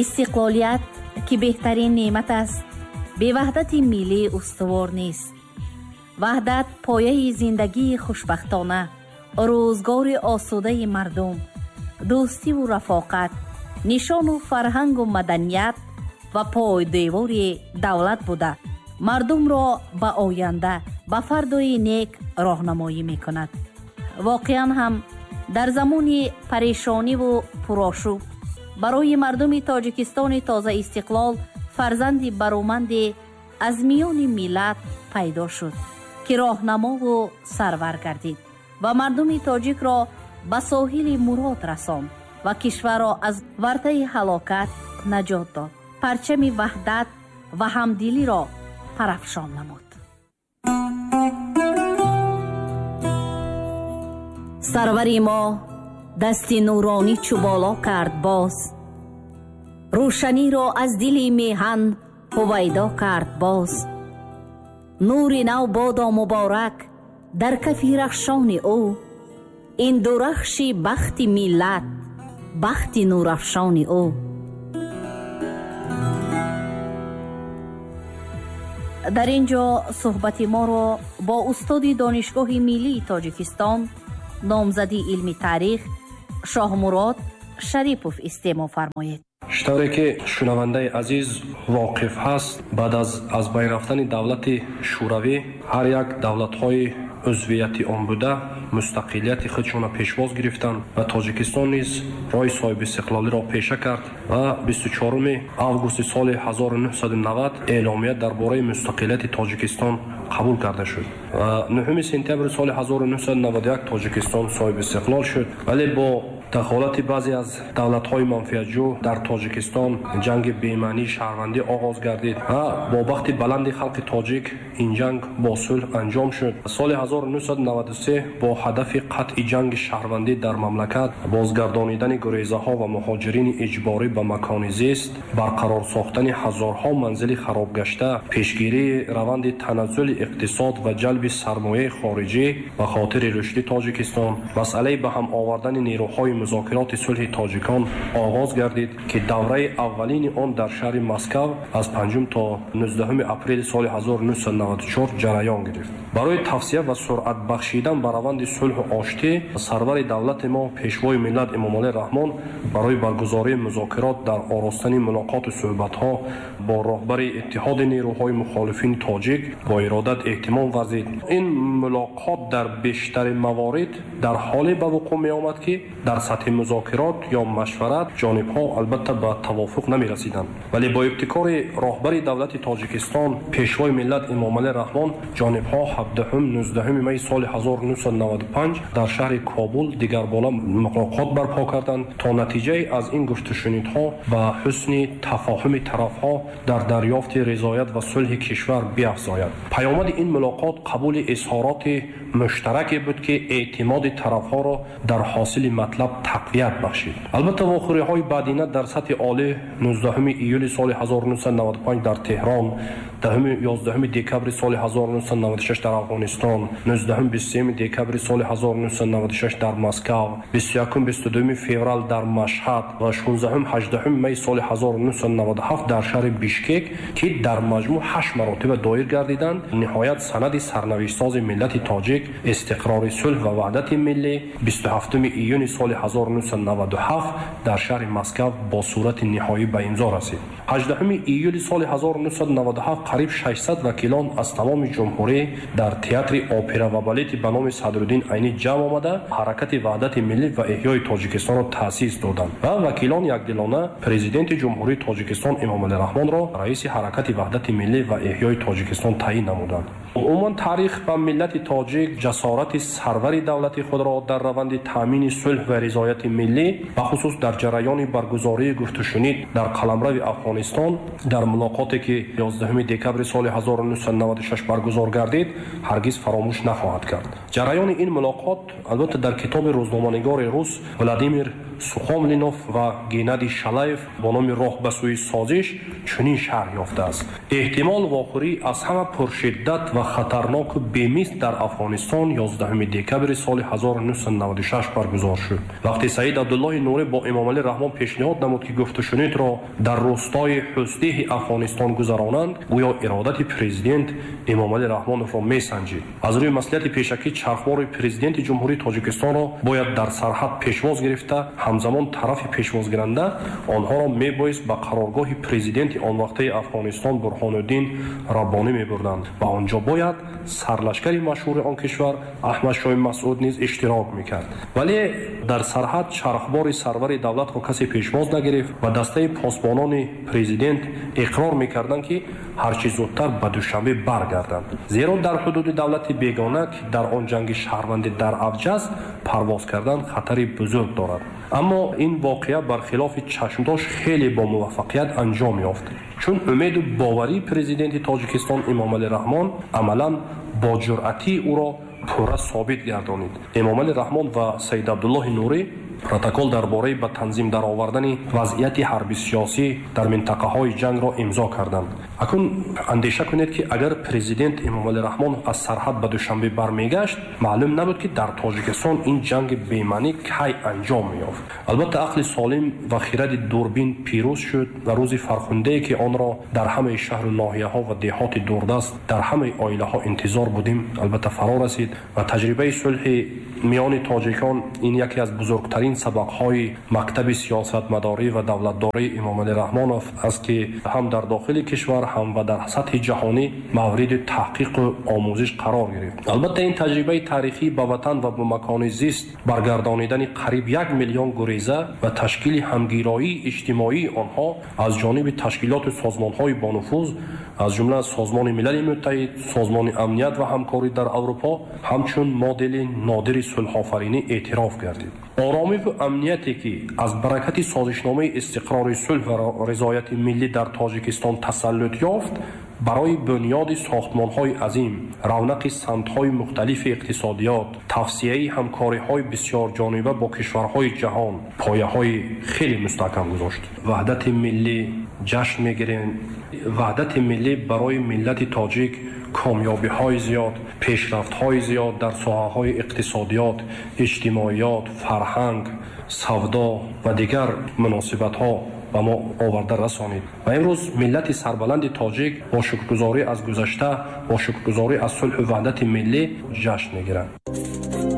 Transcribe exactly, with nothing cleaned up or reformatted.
Истиқлолият, ки беҳтарин неъмат аст, бе ваҳдати миллӣ устувор нест. Ваҳдат пояи зиндагии хушбахтона, рӯзгори осудаи мардум, дӯстиву рафоқат, нишону фарҳангу маданият ва пойдевори давлат буда, мардумро ба оянда, ба фардои нек роҳнамоӣ мекунад. Воқеан ҳам дар замони парешониву пурошӯб барои мардуми Тоҷикистони тозаистиқлол фарзанди бароманде аз миёни миллат пайдо шуд, ки роҳнамову сарвар гардид ва мардуми тоҷикро ба соҳили мурод расонд ва кишварро аз вартаи ҳалокат наҷот дод. Парчами ваҳдат ва ҳамдилиро парафшон намуд. Сарвари мо дасти нуронӣ чу боло кард боз, рӯшаниро аз дили меҳан ҳувайдо кард боз. Нури нав бодо муборак дар кафи рахшони ӯ, ин дурахши бахти миллат, бахти нурафшони ӯ. Дар ин ҷо суҳбати моро бо устоди Донишгоҳи миллии Тоҷикистон, номзади илми таърих Шоҳмурод Шарипов истеъмол фармоед. Чӣ ки шунавандаи азиз воқиф ҳаст, баъд аз аз байн рафтани давлати Шӯравӣ ҳар як давлатҳои узвияти он буда мустақилияти худшонро пешвоз гирифтанд ва Тоҷикистон низ роҳи соҳибистиқлолиро пеша кард ва бисту чоруми августи соли ҳазору нӯҳсаду навад эъломия дар бораи мустақилияти Тоҷикистон қабул карда шуд ва нӯҳуми сентябри соли ҳазору нӯҳсаду наваду як Тоҷикистон соҳибистиқлол шуд. Вале бо дахолати баъзе аз давлатҳои манфиатҷӯ дар Тоҷикистон ҷанги бемаънии шаҳрвандӣ оғоз гардид ва бо бахти баланди халқи тоҷик ин ҷанг бо сулҳ анҷом шуд. Соли ҳазору нӯҳсаду наваду се бо ҳадафи қатъи ҷанги шаҳрвандӣ дар мамлакат, бозгардонидани гурезаҳо ва муҳоҷирини иҷборӣ ба макони зист, барқарор сохтани ҳазорҳо манзили харобгашта, пешгирии раванди таназзули иқтисод ва ҷалби сармояи хориҷӣ ба хотири рушди Тоҷикистон, масъалаи ба ҳам овардани нерӯҳои музокироти сулҳи тоҷикон оғоз гардид, ки давраи аввалини он дар шаҳри Москав аз панҷум то нуздаҳуми апрели соли ҳазору нӯҳсаду наваду чор ҷараён гирифт. Барои тавсия ва суръат бахшидан ба раванди сулҳу оштӣ сарвари давлати мо, пешвои миллат Эмомалӣ Раҳмон барои баргузории музокирот дар оростани мулоқоту суҳбатҳо бо роҳбари иттиҳоди нерӯҳои мухолифини тоҷик бо иродат эҳтимом варзид. Ин мулоқот дар бештари маворид дар ҳоле ба вуқӯъ меомад, ки дар сатҳи музокирот ё машварат ҷонибҳо албатта ба тавофуқ намерасиданд. Вале бо ибтикори роҳбари давлати Тоҷикистон, пешвои миллат Эмомалӣ Раҳмон, ҷонибҳо ҳабдаҳум нуздаҳуми майи соли ҳазору нӯҳсаду наваду панҷ дар шаҳри Кобул дигарбора мулоқот барпо карданд то натиҷаи аз ин гуфтушунидҳо ба ҳусни тафоҳуми тарафҳо дар дарёфти ризоят ва сулҳи кишвар биафзояд. Паёмади ин мулоқот қабули изҳороти муштараке буд, ки эътимоди тарафҳоро дар ҳосили матлаб тақвият бахшид. Албатта вохӯриҳои баъдина дар сатҳи олӣ нуздаҳуми июли соли ҳазору нӯҳсаду наваду панҷ дар Теҳрон, ёздаҳуми декабри соли ҳазору нӯҳсаду наваду шаш дар Афғонистон, нуздаҳум бисту сеюми декабри соли ҳазору нӯҳсаду наваду шаш дар Москав, бисту якум бисту дуюми феврал дар Машҳад ва шонздаҳум ҳаждаҳуми майи соли ҳазору нӯҳсаду наваду ҳафт дар шаҳри Бишкек, ки дар маҷмӯъ ҳашт маротиба доир гардиданд, ниҳоят санади сарнавиштсози миллати тоҷик, истиқрори сулҳ ва ваҳдати миллӣ бисту ҳафтуми июни соли ҳазору нӯҳсаду наваду ҳафт дар шаҳри Москав бо сурати ниҳоӣ ба имзо расид. ҳаждаҳуми июли соли ҳазору нӯҳсаду наваду ҳафт қариб шашсад вакилон аз тамоми ҷумҳурӣ дар театри опера ва балети ба номи Садриддин Айнӣ ҷамъ омада ҳаракати ваҳдати миллӣ ва эҳёи Тоҷикистонро таъсис доданд ва вакилон якдилона президенти ҷумҳурии Тоҷикистон Эмомалӣ Раҳмонро раиси ҳаракати ваҳдати миллӣ ва эҳёи Тоҷикистон таъин намуданд. Умуман таърих ба миллати тоҷик ҷасорати сарвари давлати худро дар раванди таъмини сулҳ ва ризояти миллӣ, бахусус дар ҷараёни баргузории гуфтушунид дар қаламрави Афғонистон дар мулоқоте ки ёздаҳуми декабри соли ҳазору нӯҳсаду наваду шаш баргузор гардид, ҳаргиз фаромӯш нахоҳад кард. Ҷараёни ин мулоқот албатта дар китоби рӯзноманигори рус Владимир Сухомлинов ва Геннадий Шалаев бо номи «Роҳ ба сӯи созиш» чунин шарҳ ёфтааст. Эҳтимол вохӯрӣ аз ҳама пуршиддат ва хатарноку бемисл дар Афғонистон ёздаҳуми декабри соли ҳазору нӯҳсаду наваду шаш баргузор шуд. Вақте Саид Абдуллоҳи Нурӣ бо Эмомалӣ Раҳмон пешниҳод намуд, ки гуфтушунидро дар рӯстои Ҳусдеҳи Афғонистон гузаронанд, гӯё иродати президент Эмомалӣ Раҳмоновро месанҷид. Аз рӯи маслиҳати пешакӣ чархбори президенти Ҷумҳурии Тоҷикистонро бояд дар сарҳад пешвоз гирифта, ҳамзамон тарафи пешвозгиранда онҳоро мебоист ба қароргоҳи президенти он вақтаи Афғонистон Бурҳонуддин Раббонӣ мебурданд ва онҷо бояд сарлашкари машҳури он кишвар Аҳмадшоҳи Масъуд низ иштирок мекард. Вале дар сарҳад чархбори сарвари давлатро касе пешвоз нагирифт ва дастаи посбонони президент иқрор мекарданд, ки ҳарчи зудтар ба Душанбе баргарданд, зеро дар ҳудуди давлати бегона, ки дар он ҷанги шаҳрвандӣ дар авҷ аст, парвоз кардан хатари бузург дорад. Аммо ин воқеа бархилофи чашмдошт хеле бо муваффақият анҷом ёфт, чун умеду боварии президенти Тоҷикистон Эмомалӣ Раҳмон амалан бо ҷуръатии ӯро пурра собит гардонид. Эмомалӣ Раҳмон ва Саид Абдуллоҳи Нурӣ протокол дар бораи ба танзим даровардани вазъияти ҳарби-сиёсӣ дар минтақаҳои ҷангро имзо карданд. Акнун андеша кунед, ки агар президент Эмомалӣ Раҳмон аз сарҳад ба Душанбе бармегашт, маълум набуд, ки дар Тоҷикистон ин ҷанги бемаънӣ кай анҷом меёфт. Албатта ақли солим ва хиради дурбин пирӯз шуд ва рӯзи фархундае, ки онро дар ҳамаи шаҳру ноҳияҳо ва деҳоти дурдаст, дар ҳамаи оилаҳо интизор будем, албатта фаро расид ва таҷрибаи сулҳи миёни тоҷикон ин яке аз бузургтарин сабақҳои мактаби сиёсатмадорӣ ва давлатдории Эмомалӣ Раҳмонов аст, ки ҳам дар дохили кишвар, ҳам ва дар сатҳи ҷаҳонӣ мавриди таҳқиқу омӯзиш қарор гирифт. Албатта ин таҷрибаи таърихӣ ба ватан ва ба макони зист баргардонидани қариб як миллион гуреза ва ташкили ҳамгироии иҷтимоии онҳо аз ҷониби ташкилоту созмонҳои бонуфуз, аз ҷумла Созмони Милали Муттаҳид, Созмони Амният ва ҳамкорӣ дар Аврупо, ҳамчун модели нодири сулҳофаринӣ эътироф гардид. Оромиву амнияте, ки аз баракати созишномаи истиқрори сулҳ ва ризояти миллӣ дар Тоҷикистон тасаллут ёфт, барои бунёди сохтмонҳои азим, равнақи самтҳои мухталифи иқтисодиёт, тавсияи ҳамкориҳои бисёрҷониба бо кишварҳои ҷаҳон пояҳои хеле мустаҳкам гузошт. Ваҳдати миллӣ ҷашн мегирем. Ваҳдати миллӣ барои миллати тоҷик комёбиҳои зиёд, пешрафтҳои зиёд дар соҳаҳои иқтисодиёт, иҷтимоиёт, фарҳанг, савдо ва дигар муносибатҳо ба мо оварда расонид. Ва имрӯз миллати сарбаланди тоҷик бо шукргузорӣ аз гузашта, бо шукргузорӣ аз сулҳу ваҳдати миллӣ ҷашн мегиранд.